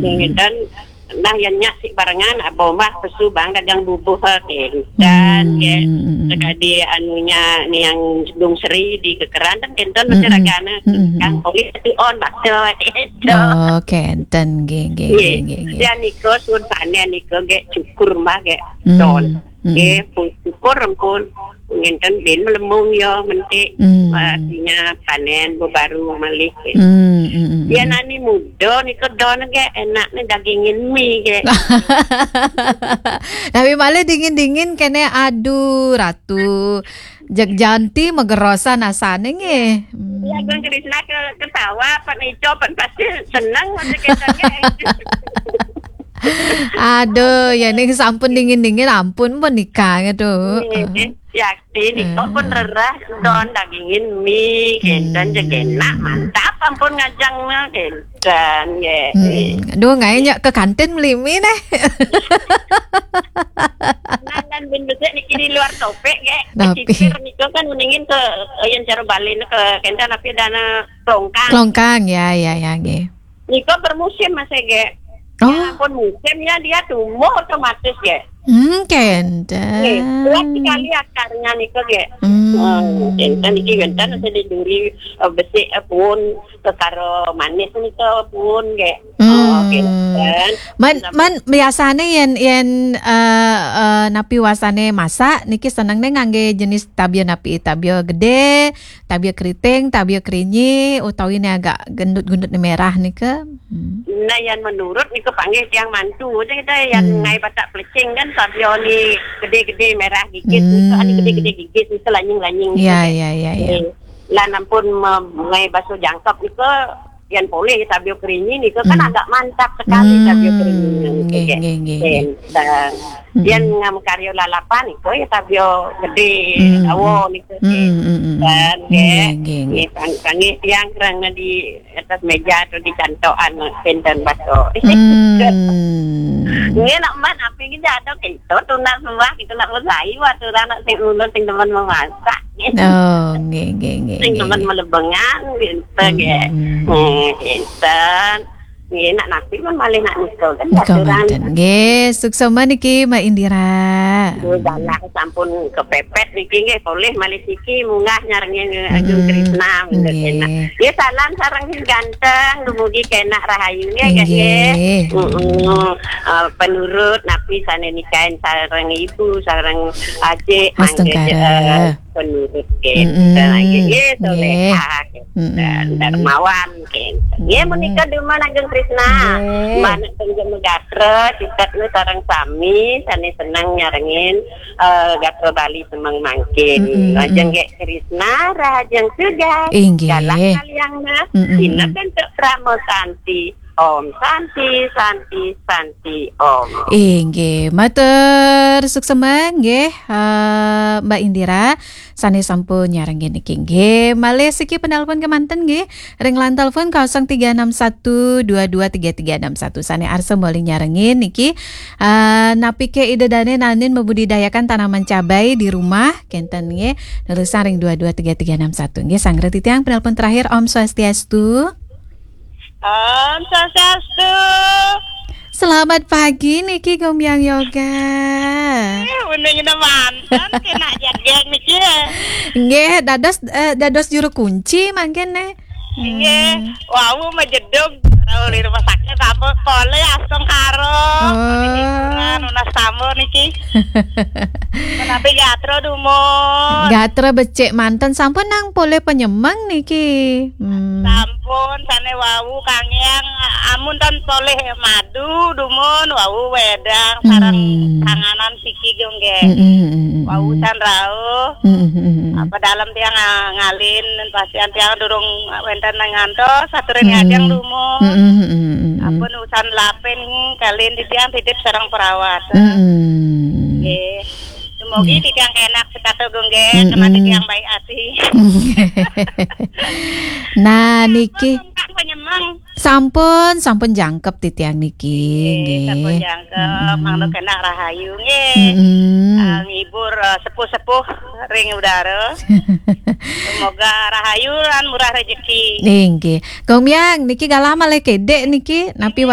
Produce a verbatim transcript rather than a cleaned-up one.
Ngénten, nah, yén nyak sik barengan, abang bah pesu bang dagang bubuh, eh, dan, ya. Sekadi anunya ni yang Gung Sri di Kekeran, kan kénten masih ragana. Kang Poli tu on, bakso, eh, itu. Oh, kénten, nggih, nggih, nggih, nggih, nggih. Ya, niko sun panen, niko gek cukur, mbah, gek don. Nggih, pun cukur, ampun. Ngénten bin melemung ya, mentik. Artinya panen, baru malih. Hmm, hmm, hmm, ya, hmm. Nani muda, niko don, gek enak ni dagingin mi, gek. Tapi malah dingin-dingin, kene, aduh, Ratu. Jeg janti megerosan asane nggih. Hmm. Ya, Gung Krisna ke, ketawa, pan ijo, pan pasti seneng, macam kita, gek. Aduh, ya ning sampun dingin-dingin, ampun pun nikah gitu. Nggih, yakti nika pun rerah don dagingin mi, kénten jeg enak, mantap, ampun ngajangna, kénten, nggih. Hmm. Aduh, ngae nyak ke kantin meli mi neh. Nah, lan bin besik niki di luar topik, nggih. Tapi kecicir nika kan mendingin ke, eh, yang cara Bali ke kénten, tapi dana kelongkang. Kelongkang, ya, ya, ya, nggih. Nika bermusim, Mas, gek. Oh. Ya, ampun musimnya dia tumbuh otomatis, gek. Hmm, kénten. Nggih, kuat sekali akarnya nika, gek. Hmm. Hmm, kénten niki wénten sing diduri, eh, besik, eh, puun, kekaro manis nika puun, gek. Hmm. Oh, kénten. Man, man biasane yen, yen, eh, eh, napi wasane masak niki senengne ngangge jenis tabia napi? Tabia gede, tabia keriting, tabia kerinyi, utawi ne agak gendut-gendut ne merah nika? Hmm. Nah, yang menurut nika panggih tiang mantu aja kita yang ngai batak pelecing kan, tabia ni gede-gede merah gigit, nika ane gede-gede gigit, nika lanying-lanying. Ya, ya, ya, ya. Nggih. Lan ampun me-, ngai baso jangkep nika, yang poleh tabia kerinyi nika kan agak mantap sekali tabia kerinyi nika, nggih, nggih, nggih. Yang ngam karya lalapan nika ya tabia gede, dawa nika. Hmm, hmm, hmm, hmm. Dan, nggih, nggih, nggih. Nggih, pang-, panggih tiang kerana di atas meja atau di cantokan, anu, kénten baso. Hmm. Nggih, nak man, api kita ada kita tunas sembah, kita nak bersai, waktu anak sing ulun, sing demen memasak. Oh, nggih, nggih, nggih, sing nggih, demen nggih. Melebengan, gitu, hmm, nggih. Hmm. Hmm, kénten. Nggih, nak nasi pun malih nak nika kan. Nika aturan. Manten. Nggih, suksma niki, Mbak Indira. Nggih, galak sampun kepepet niki nggih, poleh malih siki munggah nyarengin Agung Krisna, nggih. Nggih, salam sareng ganteng, dumugi kenak rahayu nggih, nggih. Nggih. Heeh. Eh, penurut napi sane nikain sareng ibu, sareng adik, mangke, eh, penurut kita lagi. Nggih, solehah, kita dermawan, kita. Nggih, menika dumun Agung Krisna. Nggih. Mbak nek teng Jemegatra, citet nu sareng sami, sane seneng nyarengin, eh, gatra Bali semeng mangkin. Lajeng nggih Krisna, rahajeng sugas. Inggih. Galah kaliang mas, sinep bentuk prama santi. Om Santi, Santi, Santi, Om. Inggih, matur suksma nggih, eh, Mbak Indira, sane sampun nyarengin niki nggih. Malih siki penelpon kemanten nggih. Ring line telepon kosong tiga enam satu dua dua tiga tiga enam satu. Sane arsa malih nyarengin niki, eh, napike ida dane nanin membudidayakan tanaman cabai di rumah, kenten nggih. Nerusang ring dua dua tiga tiga enam satu nggih. Sanggra titiang penelpon terakhir, Om Swastiastu. Om Swastiastu. Selamat pagi niki, Gombyang Yoga. Eh, uning manten kena jageng niki. Nggih, dados, eh, dados juru kunci mangkin ne. Nggih, wau majedug rauh di rumah sakit, sampun polih astungkara. Oh. Nunas tamu niki. Menawi gatra dumun. Gatra becik manten, sampun nang polih penyemeng niki. Hmm. Sampun, sane wau kangiang amun tan polih madu dumun, wau wedang sareng tanganan siki nggih. Wau tan rauh. Apa dalem tiang, ah, ngalin, pasian tiang durung wenten nang ngantos, aturin ngajeng dumun. Ampun usan lapin kalin titiang titip sareng perawat. Nggih. Semoga titiang enak sekata nggih, teman titiang baik hati. Nah, niki. Sampun, sampun jangkep titiang niki, nggih. Sampun jangkep, mangda kena rahayu, nggih. Ah, ngibur, eh, sepuh-sepuh ring udara. Semoga rahayu lan murah rezeki. Nggih. Gombyang, niki galah malih kedek niki, napi was